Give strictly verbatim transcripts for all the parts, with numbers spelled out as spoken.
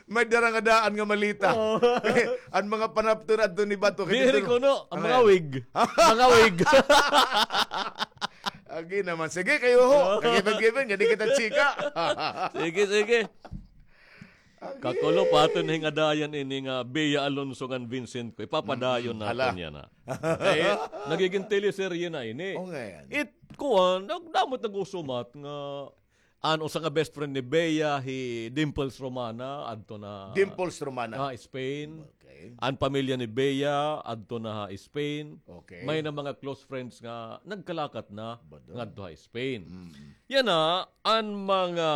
May dara nga daan nga maleta. Oo. An mga panapton adto ni Bato, kay diri dito, kuno, an mga wig. Mga wig. Agi naman. Sige, kayo ho. Oo. Kagiban-giban, nga di kita chika. Sige, sige. Agi. Kakulo pa aton hingadayan ini nga Bea Alonso ngan Vincent ko. Ipapadayon naton yana. Kay nagigin teleserye na ini. O, nga yan. It, kuwan, nag-, damo it nag-usumat nga an usa nga best friend ni Bea, hi Dimples Romana, adto na Dimples Romana. Ha Spain. Okay. An pamilya ni Bea, adto na ha Spain. Okay. May na mga close friends nga nagkalakat na ngadto ha Spain. Mm. Yana, an mga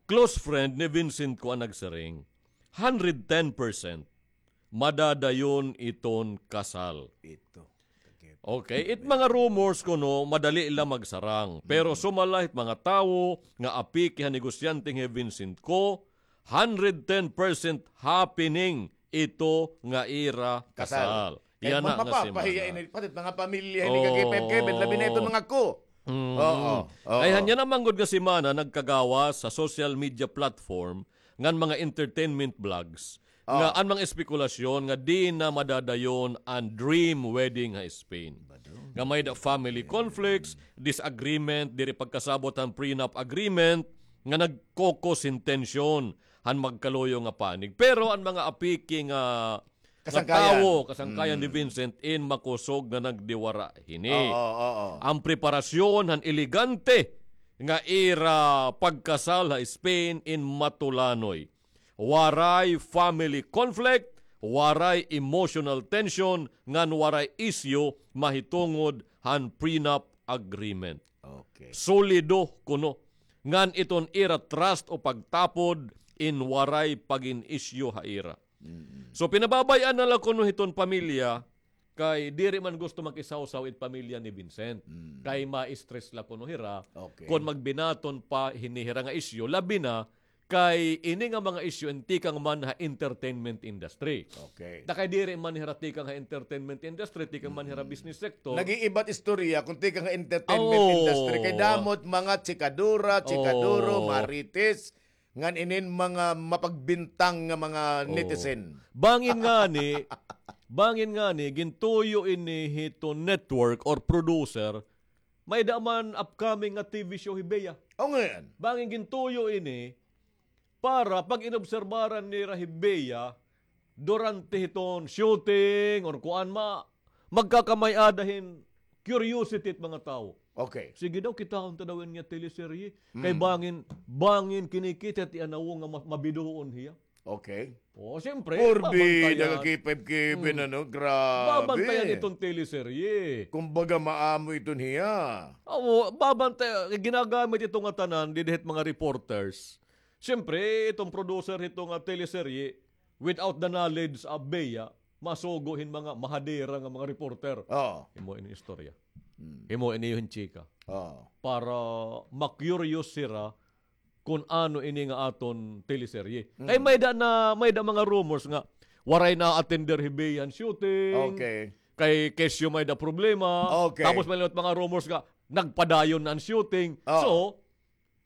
close friend ni Vincent ko an nagsiring, hundred ten percent madadayon iton kasal. Ito. Okay, it mga rumors kuno, madali la magsarang. Pero sumala hit mga tawo nga apiki ha negosyante nga hi Vincent ko, hundred ten percent happening ito nga ira kasal. Kasal. Yana nga si Mana. Ini, pati mga pamilya ini, kagipem-kemen, labi na ito mga ko. Mm. Oo, oo. Kay hanya naman gud nga si Mana nagkagawas sa social media platform ngan mga entertainment blogs nga an mga espekulasyon nga di na madadayon an dream wedding ha Spain. Nga may da family conflicts, disagreement, diri pagkasabot han prenup agreement, nga nagkokos hin tensyon han magkaluyo nga panig. Pero an mga apiki nga nga tawo, kasangkayan ni Vincent in makusog nga nagdiwara hini. Oo, oo. An preparasyon han elegante nga ira pagkasal ha Spain in matulanoy. Waray family conflict, waray emotional tension, ngan waray isyu mahitungod han prenup agreement. Okay. Solido kuno ngan iton ira trust o pagtapod in waray pagin-isyu ha ira. Mm. So, pinababay-an na la kuno hiton pamilya, kay diri man gusto makisawsaw it pamilya ni Vincent. Mm. Kay ma-stress la kuno hira, okay, kon magbinaton pa hini hira nga isyu, labi na kay ini nga mga isyu in tikang man ha entertainment industry. Okay. Ta kay diri man hira tikang ha entertainment industry, tikang man hira business sector. Nag-iiba't istorya kung tikang ha entertainment industry. Kay damo it mga chikadura, chikaduro, marites, ngan inin mga mapagbintang nga mga netizen. Bangin ngani, bangin ngani, gintuyo ini hiton network or producer, may da man upcoming nga T V show hi Bea. O, ngayon. Bangin gintuyo ini para pag-inobserbaran nira hi Bea durante hiton shooting or kuan ma, magkakamay-ada hin curiosity it mga tawo. Okay. Sige daw, kitaon ta daw ini nga teleserye. Kay bangin, bangin kinikita ti anawo nga ma-, mabiduon hiya. Okay. O, siyempre, purbi, babantayan. Nagakipib-kibin, ano, grabe. Babantayan iton teleserye. Kumbaga, maamo iton hiya. Oo, babantayan. Ginagamit ito nga tanan, didi hit mga reporters. Siyempre, itong producer hito nga teleserye, without the knowledge of Bea, masugo hin mga mahadera nga mga reporter. Oo. Himo ini istorya. Hmm. Himo ini hin chika. Oo. Para ma-curious sira kun ano ini nga aton teleserye. Mm. Kay may da na, may da mga rumors nga waray na-attender hi Bea han shooting. Okay. Kay kesyo may da problema. Okay. Tapos may liwat mga rumors nga nagpadayon na an shooting. Oo. So,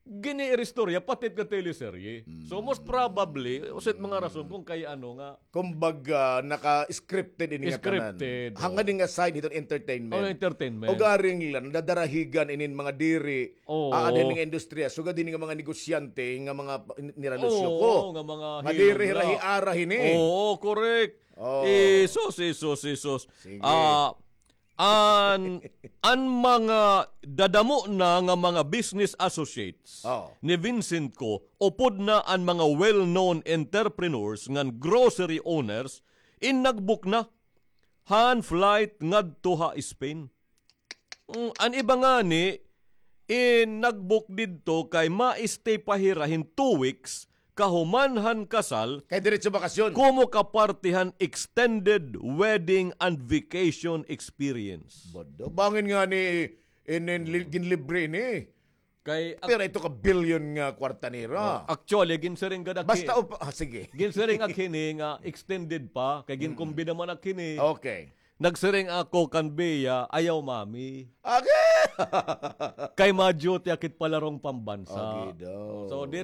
giniiristorya, pati it nga teleserye. So, most probably, usa it mga rason kung kay ano nga. Kumbaga, naka-scripted ini nga tanan. Scripted, oo. Hangkan ini nga side hiton entertainment. Oh, entertainment. Ugaring la, nadarahigan inin mga diri, oo, aanhin nga industriya. Sugad ini nga mga negosyante, nga mga pa-, niralusyo ko. Oo, nga mga nga diri hira hiara hini. Oo, correct. Oo. Jesus, Jesus, Jesus. Sige. Ah, An, an mga dadamo na nga mga business associates ni Vincent ko, upod na an mga well-known entrepreneurs ngan grocery owners, in nag-book na han flight ngadto ha Spain. Mm, an iba ngani, in nag-book didto kay ma-stay pa hira hin two weeks kahuman han kasal, kay diretso bakasyon. Komo ka parte han extended wedding and vacation experience. Bado, bangin ngani, in, in, li-, ginlibre ini. Kay ak- Pero ito ka billion nga kwarta nira. Oh, actually, ginsiring gad ak-, basta upa-, ah, sige. Ginsiring ak hini nga extended pa, kay ginkumbida man ak hini. Okay. Nagsiring ako kan Bea, ayaw, mami. Agi! Kay ma-duty ak hit palarong pambansa. Agi daw. So, diri